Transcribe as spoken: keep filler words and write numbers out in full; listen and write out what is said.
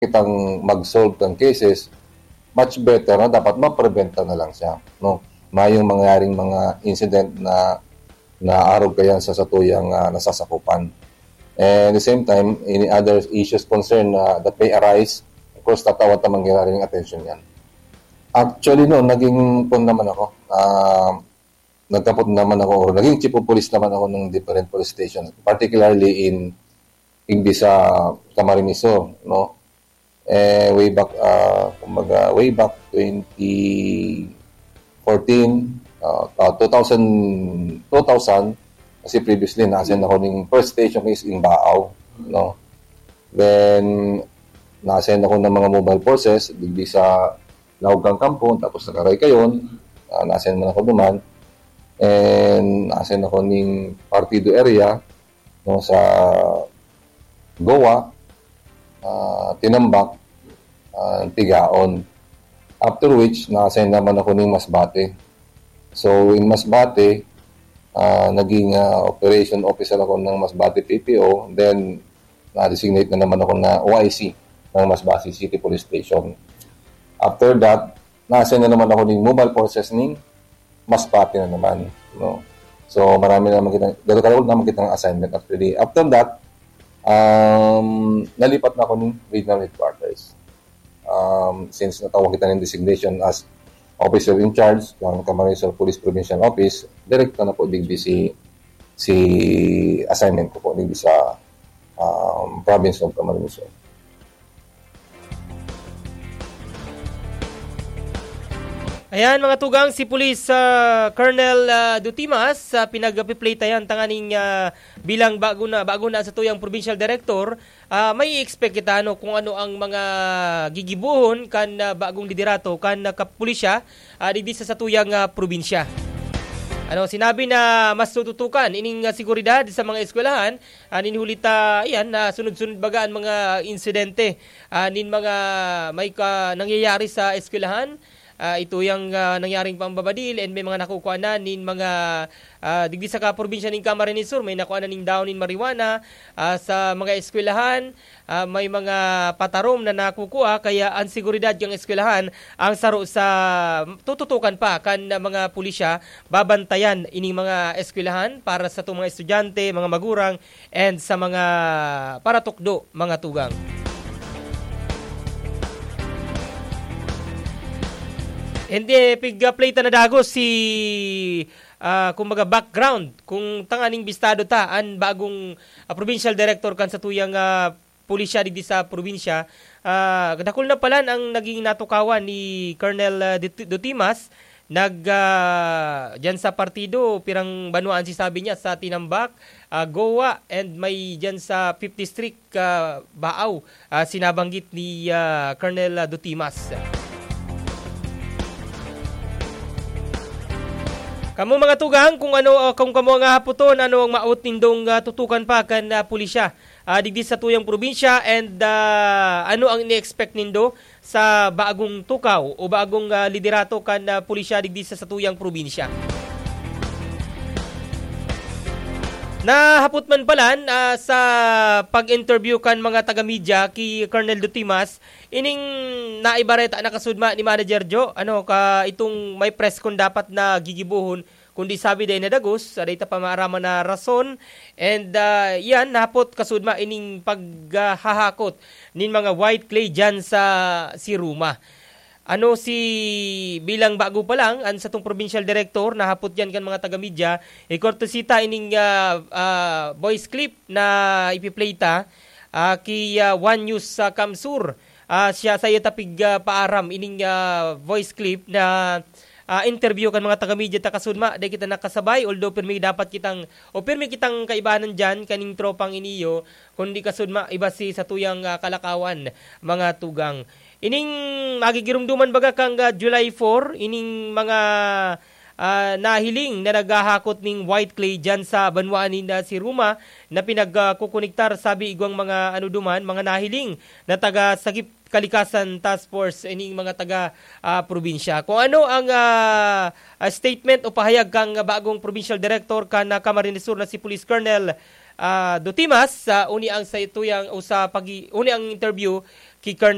kitang mag-solve kan cases, much better na dapat mapreventa na lang siya, no? Mayong mangyaring mga incident na naarog kayan sa satuyang, ah, nasasakupan. And the same time, any other issues concern na that may arise, of course, tatawan ta mangyaring attention yan. Actually, no, naging, kun naman ako, ah, nagkapot naman ako, or naging chief of police naman ako ng different police station, particularly in, in sa Camarines Sur, no? Eh, way back, ah, kumbaga, way back twenty fourteen, ah, ah, two thousand, two thousand, kasi previously, na-assign ako ning first station is in Baao, no? Then, na-assign ako ng mga mobile forces, digdi sa Laog kan Kampo, tapos sa Caraycayon, ah, na-assign man ako duman. And na-assign ako ning Partido area, no, sa Goa, ah, Tinambac, ah, Tigaon. After which, na-assign naman ako ning Masbate. So, in Masbate, ah, naging, ah, operation officer ako ng Masbate P P O. Then, na-designate na naman ako na O I C ng Masbate City Police Station. After that, na-assign na naman ako ning mobile forces ning Masbate na naman, no? So, marami na naman kita, dalawa naman kitang assignment actually. After that, um, nalipat na ako ning regional headquarters. Um, since natawag kita ng designation as officer in charge ng Camarines Sur Police Provincial Office, direkta na po digdi si, si assignment ko po digdi sa, um, province of Camarines Sur. Ayan, mga tugang, si Police, ah, Colonel, ah, Dutimas, ah, pinagpiplay tayan tanganing, ah, bilang bago na, bago na sa tuyang provincial director, ah, may expect kita, ano, kung ano ang mga gigibohon kan, ah, bagong liderato kan, ah, kapulisya, ah, digdi sa satuyang, ah, probinsya. Ano, sinabi na mas tututukan ining, ah, seguridad sa mga eskwelahan, ah, nin huli ta, ayan, na sunod-sunod baga ang mga insidente, ah, nin mga may ka, nangyayari sa eskwelahan. Ah, ito yang, ah, nangyaring pambabadil and may mga nakukuha na nin mga, ah, digdi sa kaprobinsya nin Camarines Sur, may nakuha na ning daon nin marijuana, ah, sa mga eskwelahan, ah, may mga patarom na nakukuha, kaya ang seguridad kan eskwelahan ang saro sa tututukan pa kan mga pulisya, babantayan ining mga eskwelahan para sa itong mga estudyante, mga magurang, and sa mga paratukdo, mga tugang. Hindi, pig-play ta na dagos si, ah, kumbaga, background, kung tanganing bistado ta, an bagong, ah, provincial director kan satuyang, ah, pulisya digdi sa probinsya. Ah, dakul na palan ang naging natukawan ni Colonel, ah, Dut-, Dutimas. Nag, ah, diyan sa partido, pirang banwaan si sabi niya, sa Tinambac, ah, Goa, and may diyan sa Fifth District, ah, Baao, ah, sinabanggit ni, ah, Colonel, ah, Dutimas. Kamo, mga tugang, kung ano, ah, kung kamo nga haputon, ano ang maot nindong, ah, tutukan pa kan, ah, pulisya, ah, digdi sa tuyang probinsya, and, ah, ano ang ini-expect nindo sa bagong tukaw o bagong, ah, liderato kan, ah, pulisya digdi sa satuyang probinsya? Nahapot man palan, ah, sa pag-interview kan mga taga-media ki Colonel Dutimas, ining naibareta na kasudma ni Manager Joe, ano, ka itong may press con dapat na gigibohon, kundi sabi dai na dagos, sa dai ta pa maaraman na rason, and, ah, yan, nahapot kasudma ining paghahakot nin mga white clay dyan sa Siruma. Ano si, bilang bago pa lang, ang satong provincial director, nahapot yan kan mga taga-media, ikortesita ining, ah, ah, voice clip na ipi-play ta, ah, ki, ah, One News sa Kamsur. Ah, siya, sa iya tapig, ah, paaram ining, ah, voice clip na, ah, interview kan mga taga-media ta kasudma. Dai kita nakasabay, although pirmi dapat kitang, o pirmi kitang kaibanan dyan, kaning tropang iniyo, kundi kasudma, iba si satuyang, ah, kalakawan, mga tugang. Ining magigirumduman baga kang, ah, July four, ining mga, ah, nahiling na naghahakot ning white clay dyan sa banwaan nin, ah, Siruma na pinagkukonektar, sabi igwang mga ano duman, mga nahiling na taga Sagip Kalikasan Task Force, ining mga taga, ah, probinsya. Kung ano ang, ah, ah, statement o pahayag kang bagong provincial director kan, ah, Camarines Sur na si Police Colonel, ah, Dutimas, sa uni ang sa ituyang o sa pagi-, uni ang interview ki Colonel